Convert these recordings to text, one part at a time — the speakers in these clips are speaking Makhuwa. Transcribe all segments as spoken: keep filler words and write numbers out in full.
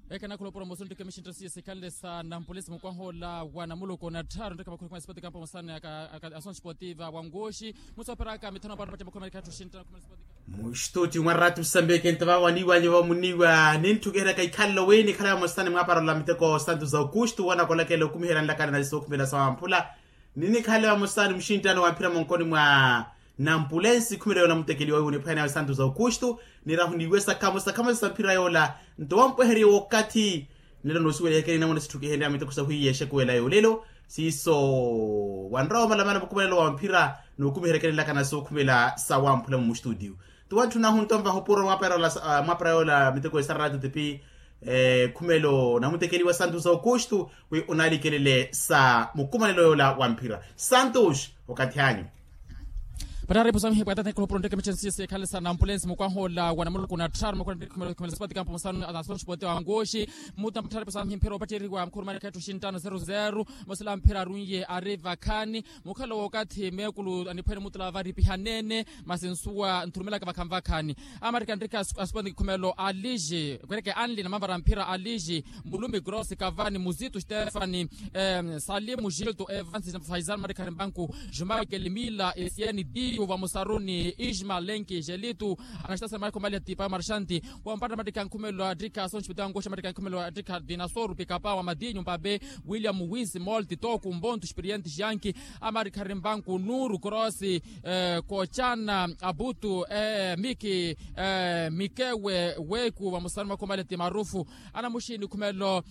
Ekena khuloporomoso ntteke mixintta siya sikhanle sa nampulesi mukwaha ola wa namuluku na tthaaru ntteke makhumi khumi na sipoti kampo musane aka aka asontsi poti va wanguxi. Musoperaka mithano patthu patthu makhumi makhumi. Muxtuti mwaratu sambeke nttava waniwanya vamuniwa ninttukeheraka ikhalelo wini khalaya musane mwaparola miteko santu za okuxtu wanakolakela okumiherya nlakana na sookhumela sawamphula. Ninikhalaya musane muxinttano wamphira monkoni mwa nampulensi khumela yoola mutekeliwa wiwo niphwanya nawe santu za okuxtu. Nirahu niwesa khamosa khamosa sa mphira yoola nto wampweherye wookathi. Nlelo noosuwelehekeni namuna sitthukihenrya miteko sahwiiya exekuwela yoolelo siiso wanrowa omalamala mukumanelo wa mphira nookumiherekenelaka na sookhumela sawamphula mumuxtutiyu. Tiwantthuna ahunto nvaha opuro mwapara yoola miteko esararatu tipi khumelo namutekeliwa santu za okuxtu wi onaalikelele sa mukumanelo yoola wa mphira santu okathi anyu. Pattaripu samihi pwatathekela opuro ntteke michensi sikhalisa nampulensi mukwaha ola wa namuluku na tthaaru mukwaha ntteke khumelo khumelo sipoti kampo musanu asontsi poti wanguxi. Muta pattaripu samihi mphira opatteriwa mukhurumanekha etthu xinttano zero zero. Mosela mphira arunye ari vakhani. Mukhalo wookathi meekulu aniphwene mutula vari pihanene masi nsuwa nthurumelaka vakhanvakhani. Amarika nrika asiponi khumelo aliji kwereke anli na mavara mphira aliji mulumi grosi kavani muzitu stefani salimu gilto evansi faizal marika rimbanku jumai kelimila esieni diyu vamusaruni isma lenki gelitu. Anastasel mariko malia tipa marxanti wampata matika nkhumelo atika sonchi pita ngosha matika nkhumelo atika dinasoru pikapa wa madinyu mpape william wisi molti toku mbontu xpirienti xyanki. Amarikha rimbanku nuru krosi kochana abutu miki mikewe weku vamusaruni makhumale ti marufu. Anamuxini khumelo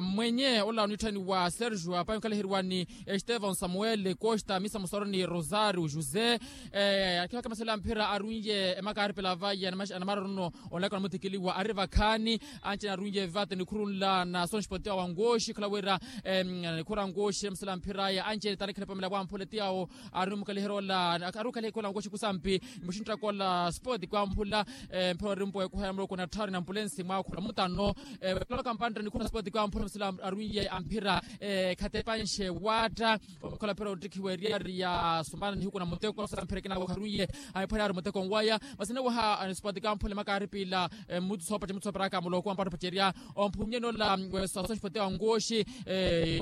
mwenye ola onitthaniwa sergio apayi onkalaheriwani estevão samuel costa misa musaruni rosario josé. Akhiwaka masela mphira arunye emakaaripela vaya anamararuno onlaka namuthikiliwa ari vakhaani. Anci anarunye vate nikhuru nla na sonxpote wa wangoxi khula wira nikhuru angoxi masela mphiraya anci tanikha nipamela wamphule tiyawo. Ari mukaliherya ola ari ukaliherya ola wangoxi kusampi muxinttaka ola spoti kwamphula. Mphira orimpo ekuhaya muloko na tthaaru na ampulensi mwakhula mutano. Kulolaka mpantta nikhuru na spoti kwamphula masela arunye amphira khatepanxe waatta. Okhala phira ottikhiwa eriyari ya sumana nihiku na muteko sa mphira ekinawo kharuiye. Aniphwanya ari muteko nwaya masene waha anisipati kamphule makaaripila. Muthu soopacerya muthu sooperaka muloko wa mpatto opacerya. Omphunye nola wesasosipati wa ongoxi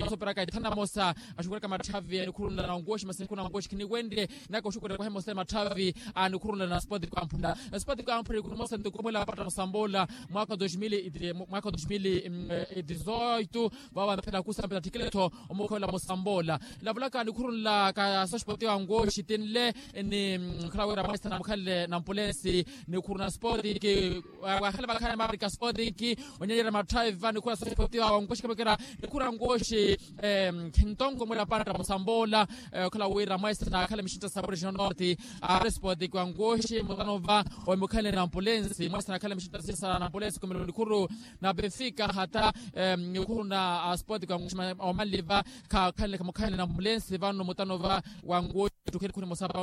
sooperaka ithana mosa axukuraka matthavi anikhurunla na ongoxi masene khuna ongoxi khiniwenrye. Naka oxukuraka ohemosa matthavi anikhurunla na sipati kamphula. Sipati kamphula ikhuru mosa ntukumwela apatta musamboola mwaka wa dos mil e dezoito. Vavo amphela kusampela ttikiletho omukhola musamboola. Lavulaka nikhuru nla ka sospoti wa ngoxi tinle ni khula wira mwaisana mukhanle na ampulensi. Nikhuru na spotiki wakhale vakhale marika spotiki onyanyerya matthavi va nikhuru na sospoti wa ngoxi khemekera. Nikhuru na ngoxi ntonko mwira pantta musamboola. Khula wira mwaisana akhale mixintta sa projeto norte ari spotiki wa ngoxi mutano va omukhanle na ampulensi mwaisana akhale mixintta sisa na ampulensi kumelo nikhuru na benfica hata nikhuru na sport kwa nguxima omanliva. Khakhanle khamukhanle na mlensi vano mutano va wanguwo ettukheni khuni mosapa.